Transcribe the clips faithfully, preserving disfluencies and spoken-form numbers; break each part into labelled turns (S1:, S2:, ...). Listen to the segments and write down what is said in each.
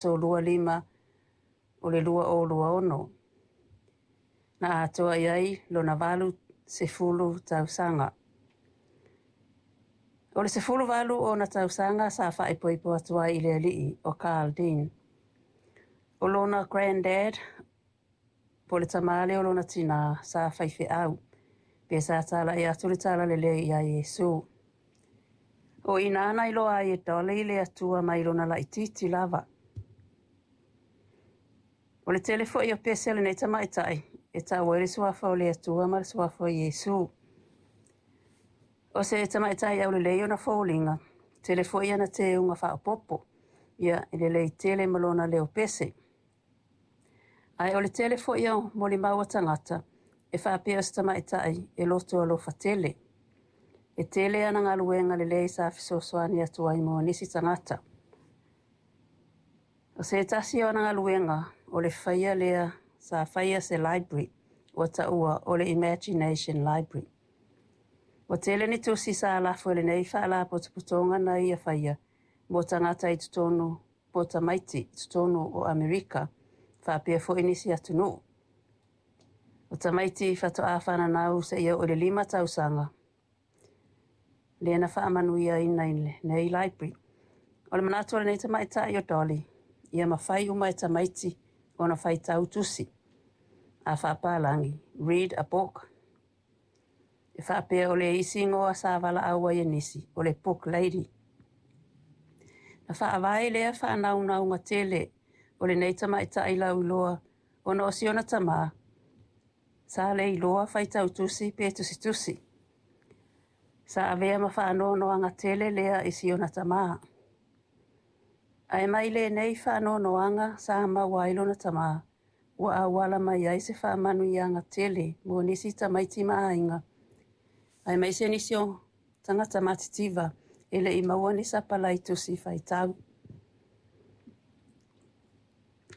S1: Aso Lua lima o le lua o lua ono. Na atoa i ai lona valu sefulu tausaga. O le sefulu valu ona tausaga sa faaipoipo atu ai i le alii o Carl Dean. O lona granddad, po o le tamā lea o lona tinā, sa faifeau, pe sa talai atu le talalelei iā Iesu. O i ina na iloa ai e Dolly le Atua mai lona laitiiti lava. O le tele foi o pese a lenei tamaitai e tau ai le suafa o le Atua ma le suafa o Iesu. O se tamaitai aulelei ona foliga, tele foi ana teuga faaopoopo, ia e lelei tele ma lona leo pese. Ae o le tele foi o molimau a tagata e faapea o se tamaitai e loto alofa tele. E tele ana galuega lelei sa fesoasoani atu ai mo nisi tagata. O se tasi o ana galuega o le faia lea sa faia se library ua taua o le Imagination Library. Ua tele ni tusi sa lafo e lenei faalapotopotoga na ia faia mo tagata i totonu po o tamaiti i totonu o Amerika faapea foi nisi atunuu. O tamaiti faatoa fananau seia oo i le lima tausaga lea na faamanuiaina i lenei library. O le manatu o lenei tamaitai o Dolly, ia mafai uma e tamaiti ona faitau tusi a faapalagi, read a book. E faapea o le isi igoa sa valaau ai e nisi, o le book lady. Na faavae lea faanaunauga tele o lenei tamaitai lauiloa ona o si ona tamā, sa le iloa faitau tusi pe tusitusi. Sa avea ma faanoanoaga tele lea i si ona tamā. Ae mai lenei faanoanoaga sa maua ai lona tamā, ua auala mai ai se faamanuiaga tele mo nisi tamaiti ma aiga, aemaise nisi o tagata matitiva e le i maua ni sapalai tusi faitau.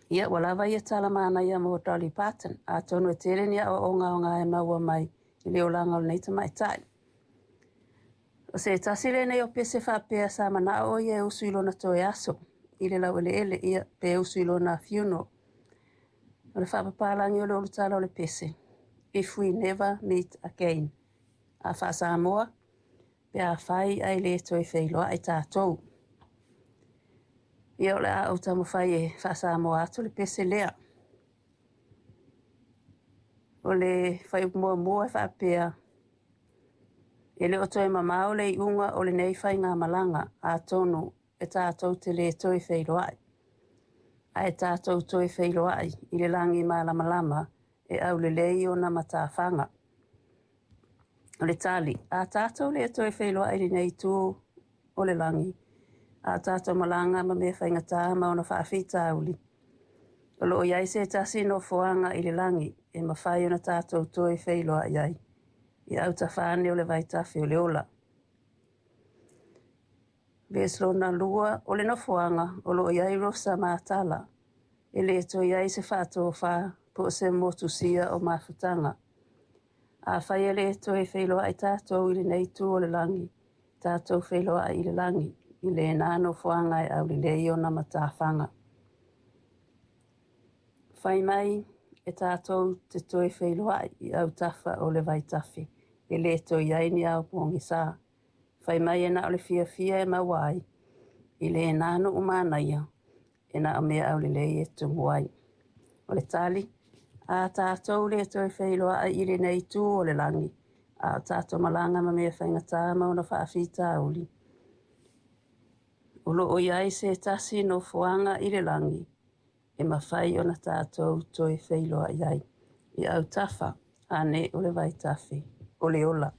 S1: Ia, ua lava ia tala manaia mo Dolly Parton, atonu e tele ni aoaoga aoga e maua mai i le olaga o lenei tamaitai. O se tasi lenei o pese faapea sa manao o ia e usu i lona toe aso i le laueleele, ia, pe usu i lona funeral. O le faapapalagi o le ulutala o le pese, If We Never Meet Again. A faa-Samoa, pe afai ae le toe feiloai tatou. Ia o le a ou taumafai e faa-Samoa atu le pese lea. O le fuaiupu muamua e faapea, e le o toe mamao le iuga o lenei faigamalaga atonu e tatou te le toe feiloai. Ae tatou toe feiloai i le lagi malamalama e aulelei ona matafaga. O le tali, a tatou le toe feiloai i lenei itu o le lagi, a tatou malaga ma mea faigata ma ona faafitauli, o lo o i ai se tasi nofoaga i le lagi e mafai ona tatou toe feiloai ai, i autafa ane o le vaitafe o le ola. Vesi lona lua, o le nofoaga o lo o i ai rosa matala, e le toe i ai se faatofa po o se motusia o mafutaga. Afai e le toe feiloai tatou i lenei itu o le lagi, tatou feiloai i le lagi, i lena nofoaga e aulelei ona matafaga. Fai mai e tatou te toe feiloai i autafa o le vaitafe, e le toe i ai ni ao pogisa. Fai mai e na o le fiafia e maua ai, i lena nuu manaia, e na o mea aulelei e tumu ai. O le tali, a tatou le toe feiloai i lenei itu o le lagi, a o tatou malaga ma mea faigata ma ona faafitauli, o lo o i ai se tasi nofoaga i le lagi e mafai ona tatou toe feiloai ai, i autafa ane o le vaitafe o le ola.